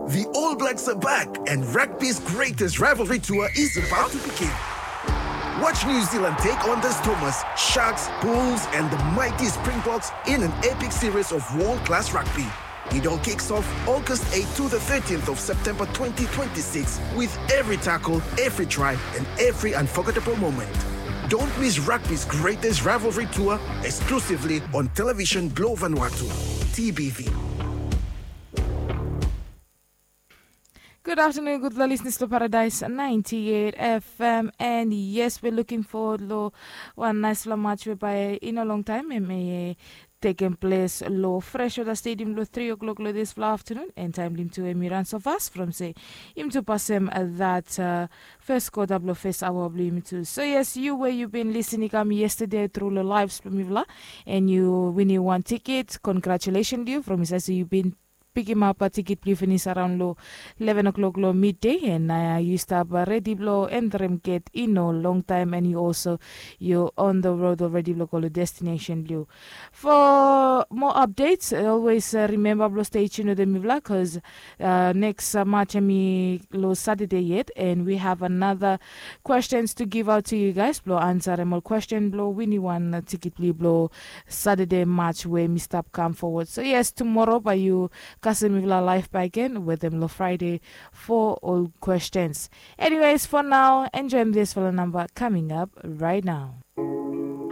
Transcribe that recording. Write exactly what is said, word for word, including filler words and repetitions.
The All Blacks are back, and rugby's greatest rivalry tour is about to begin. Watch New Zealand take on the Stormers, Sharks, Bulls, and the mighty Springboks in an epic series of world class rugby. It all kicks off August eighth to the thirteenth of September twenty twenty-six, with every tackle, every try, and every unforgettable moment. Don't miss rugby's greatest rivalry tour, exclusively on Television Globe Vanuatu, T B V. Good afternoon, good listeners to Paradise ninety-eight F M. And yes, we're looking forward lo wan nice lo match whereby in a long time, em e taking place lo Freshwater Stadium lo three o'clock lo this afternoon. And time lim to em run so fast from say im to pass him that uh, first quarter blo first hour blo im too. So yes, you where you been listening come yesterday through the lives from Mivla, and you winning one ticket. Congratulations to you from his, so you been pick him up a ticket blue finish around lo eleven o'clock lo midday, and uh, you stop uh, ready blo and rem get in a long time, and you also you on the road already lo go lo destination blue. For more updates, always uh, remember blo stay tuned with Mivla, because uh, next uh, match ami lo Saturday yet, and we have another questions to give out to you guys. Blo answer em all question blo winning one uh, ticket blue blo Saturday match where mi stop come forward. So yes, tomorrow by you Kasim Mivla live back again with them lo Friday for all questions. Anyways, for now, enjoy this for the number coming up right now.